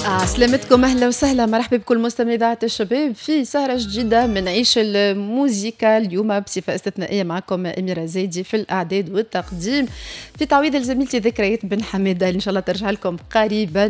سلامتكم، اهلا وسهلا، مرحبا بكل مستمعي اذاعة الشباب في سهره جديدة من عيش الموزيكا. اليوم بصفة استثنائية معكم اميره زايدي في الاعداد والتقديم، في تعويض لزميلتي ذكريات بن حميده اللي ان شاء الله ترجع لكم قريبا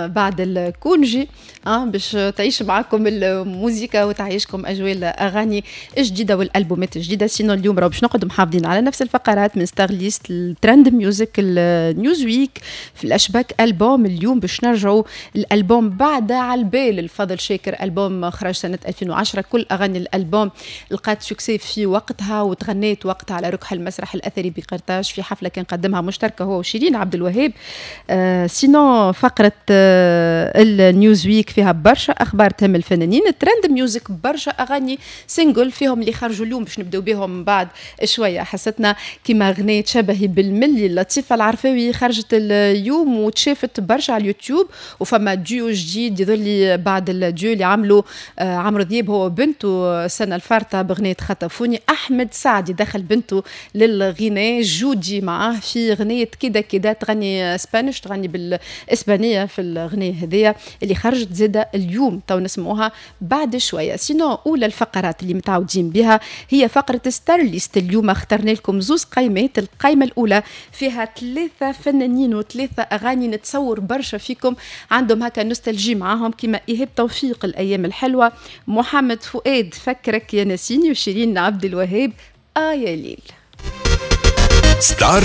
بعد ال congé باش تعيش معكم الموزيكا وتعيشكم اجواء الاغاني الجديدة والالبومات الجديده. sinon اليوم راهو باش نقعدوا محافظين على نفس الفقرات، من Star List، ال Trend Music، ال News Week، flashback album. اليوم باش نرجعوا الالبوم بعد على البال الفضل شاكر، البوم خرج سنة 2010. كل اغاني الالبوم لقات succès في وقتها وتغنيت وقتها على ركح المسرح الاثري بقرطاج في حفلة كان قدمها مشتركة هو وشيرين عبد الوهاب. Sinon فقره ال News Week فيها برشا اخبار تهم الفنانين. ال Trend Music برشا اغاني single فيهم اللي خرجوا اليوم باش نبداو بهم بعد شوية حصتنا، كيما غنية شبهي بالملي لطيفة العرفاوي خرجت اليوم وتشافت برشا على اليوتيوب. وفما ديو جديد يظل بعد الديو اللي عملوا عمرو دياب هو وبنته السنة الفارطه بغنيه خطفوني. احمد سعدي دخل بنته للغناء جودي معاه في غنية كده كده، تغني Spanish، تغني بالاسبانيه في الغنية هذيا اللي خرجت زاده اليوم، تو نسمعوها بعد شويه. sinon اولى الفقرات اللي متعودين بها هي فقره Star List. اليوم اخترنا لكم زوز قائمات. القائمة الاولى فيها ثلاثة فنانين وثلاثة اغاني نتصور برشا فيكم عندهم هكا nostalgie معاهم، كما ايهاب توفيق الايام الحلوه، محمد فؤاد فكرك يا نسيني، وشيرين عبد الوهاب آه يا ليل. Star